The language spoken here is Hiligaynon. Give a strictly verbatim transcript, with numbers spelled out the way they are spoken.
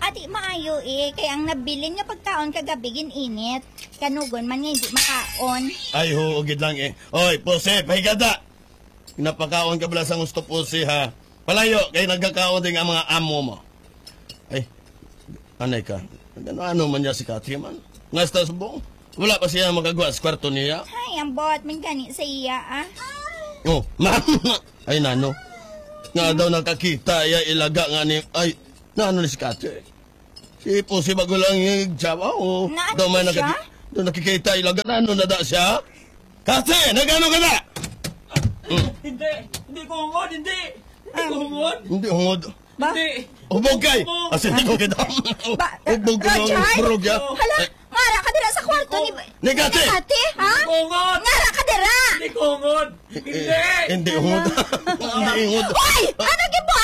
Ati, maayo eh, kay ang nabilin nga pagkaon kagabi gin-init. Kanugon man nga hindi makaon. Ay, huo gid lang eh. Oy, Pusi, pahigada! Napakaon ka bala sa gusto, Pusi, ha? Palayo, kay nagkakaon din ang mga amo mo. Ay, anay ka. Ano-ano man niya si Kathy man? Nga sa subong? Wala pa siya makagwa sa kwarto niya? Ay, ang buhat man gani sa iya, ah. Oh, ma'am. Ay, nano. Nga daw nakakita iya ilaga nga ni, ay, nano ni si Kathy? Si Pusi bago lang yung jawa, oh. Nano Daw may siya? nakaki-, daw nakikita ilaga, nano na da siya? Kathy, nagano ka na? Hmm. Hindi, hindi ko hungod, hindi. Hindi ko hungod. Hindi hungod. Ba? Hindi. Hubog kay. Hubog. Asa di ko kita? Ba, Hubog ko ng Roger? Burog, ya. Hala, Ay. ngara ka dira sa kwarto ni, Ni Kathy. ni Kathy, ha? Hindi ko hungod. Ngara ka dira. Hindi ko hungod. Hindi. Eh, hindi hungod. Hindi hungod. Oy! Ano gid mo?